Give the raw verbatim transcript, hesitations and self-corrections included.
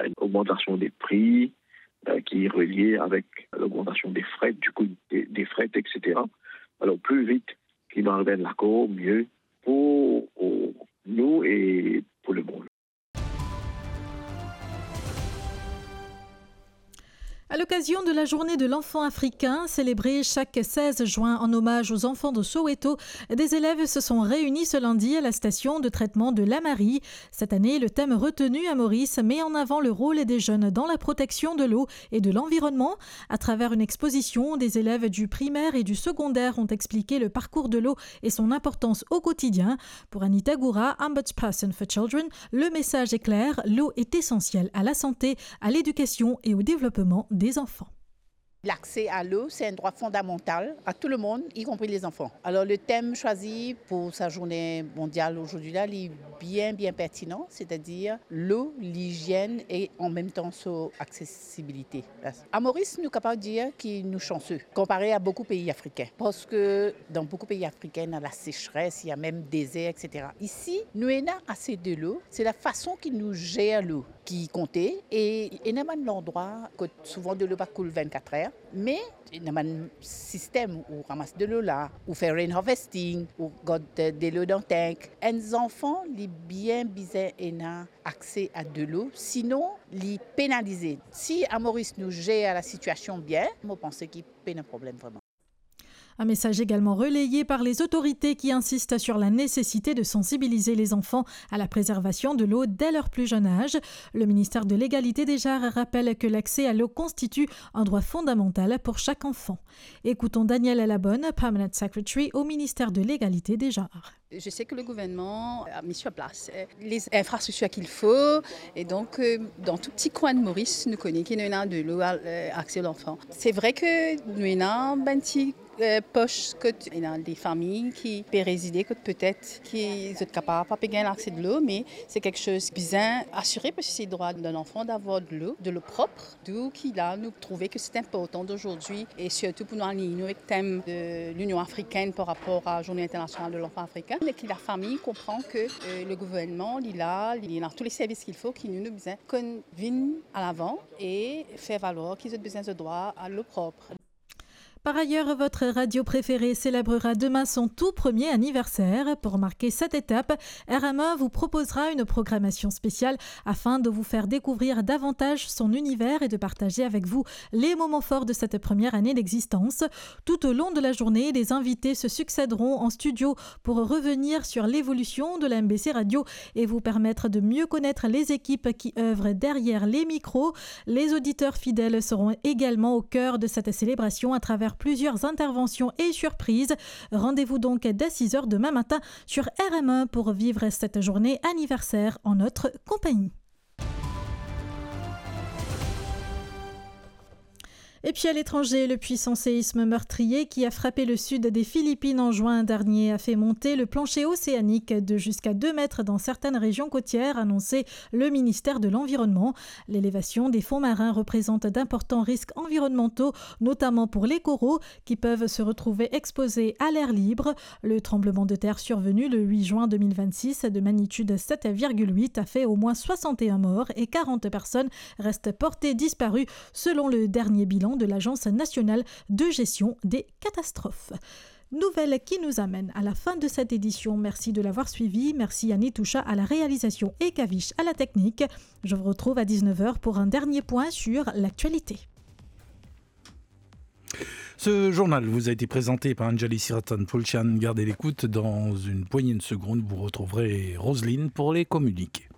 une augmentation des prix, euh, qui est reliée avec l'augmentation des frais, du coût des, des frais, et cetera. Alors, plus vite qu'il va arriver l'accord, mieux pour, pour nous et pour le monde. À l'occasion de la journée de l'enfant africain, célébrée chaque seize juin en hommage aux enfants de Soweto, des élèves se sont réunis ce lundi à la station de traitement de Lamarie. Cette année, le thème retenu à Maurice met en avant le rôle des jeunes dans la protection de l'eau et de l'environnement. À travers une exposition, des élèves du primaire et du secondaire ont expliqué le parcours de l'eau et son importance au quotidien. Pour Anita Goura, Ombudsperson for Children, le message est clair, l'eau est essentielle à la santé, à l'éducation et au développement des enfants. L'accès à l'eau, c'est un droit fondamental à tout le monde, y compris les enfants. Alors, le thème choisi pour sa journée mondiale aujourd'hui là, il est bien, bien pertinent, c'est-à-dire l'eau, l'hygiène et en même temps son accessibilité. À Maurice, nou kapav dir ki nou chanseux comparé à beaucoup de pays africains. Parce que dans beaucoup de pays africains, il y a la sécheresse, il y a même désert, et cetera. Ici, nou ena assez de l'eau. C'est la façon ki nou gérer l'eau ki konte. E ena bann landrwa kot souvan delo pa koul vennkat er, me ena bann sistem ou ramas delo la, ou fer rain harvesting, ou gard delo dan tank. Enn zanfan, li bien bizin ena akse a delo, sinon li penalize. Si a Maurice nou zer la sitiasion bien, mo panse ki pena problem vreman. Un message également relayé par les autorités qui insistent sur la nécessité de sensibiliser les enfants à la préservation de l'eau dès leur plus jeune âge. Le ministère de l'Égalité des genres rappelle que l'accès à l'eau constitue un droit fondamental pour chaque enfant. Écoutons Danielle Labonne, Permanent Secretary au ministère de l'Égalité des genres. Je sais que le gouvernement a mis sur place, euh, les infrastructures qu'il faut. Et donc, euh, dans tout petit coin de Maurice, nou kone ki nou ena delo, euh, accès à l'enfant. C'est vrai que nou ena bann ti, euh, poch kot ena de fami ki pe rezide kot petet ki zot kapav pa pe gagn accès delo, mais c'est quelque chose bizin asire, parce que c'est le droit d'un enfant d'avoir de l'eau, de l'eau propre. D'où ki la, nou trouve que c'est important d'aujourd'hui, et surtout pour nou align nou avek tem de l'Union africaine par rapport à Journée internationale de l'enfant africain, mais que la famille comprend que, euh, le gouvernement, li la, li ena tous les services qu'il faut, ki nou, nou bizin konn vinn a lavan e fer valoir ki zot bizin zot drwa a l'eau propre. Par ailleurs, votre radio préférée célébrera demain son tout premier anniversaire. Pour marquer cette étape, R M E vous proposera une programmation spéciale afin de vous faire découvrir davantage son univers et de partager avec vous les moments forts de cette première année d'existence. Tout au long de la journée, les invités se succéderont en studio pour revenir sur l'évolution de la M B C Radio et vous permettre de mieux connaître les équipes qui œuvrent derrière les micros. Les auditeurs fidèles seront également au cœur de cette célébration à travers plusieurs interventions et surprises. Rendez-vous donc dès six heures demain matin sur R M E pour vivre cette journée anniversaire en notre compagnie. Et puis à l'étranger, le puissant séisme meurtrier qui a frappé le sud des Philippines en juin dernier a fait monter le plancher océanique de jusqu'à deux mètres dans certaines régions côtières, a annoncé le ministère de l'Environnement. L'élévation des fonds marins représente d'importants risques environnementaux, notamment pour les coraux, qui peuvent se retrouver exposés à l'air libre. Le tremblement de terre survenu le huit juin deux mille vingt-six de magnitude sept virgule huit a fait au moins soixante et un morts et quarante personnes restent portées disparues, selon le dernier bilan de l'Agence nationale de gestion des catastrophes. Nouvelle qui nous amène à la fin de cette édition. Merci de l'avoir suivi. Merci à Nitoucha à la réalisation et Kavish à la technique. Je vous retrouve à dix-neuf heures pour un dernier point sur l'actualité. Ce journal vous a été présenté par Anjali Siratan Pulchan. Gardez l'écoute. Dans une poignée de secondes, vous retrouverez Roselyne pour les communiqués.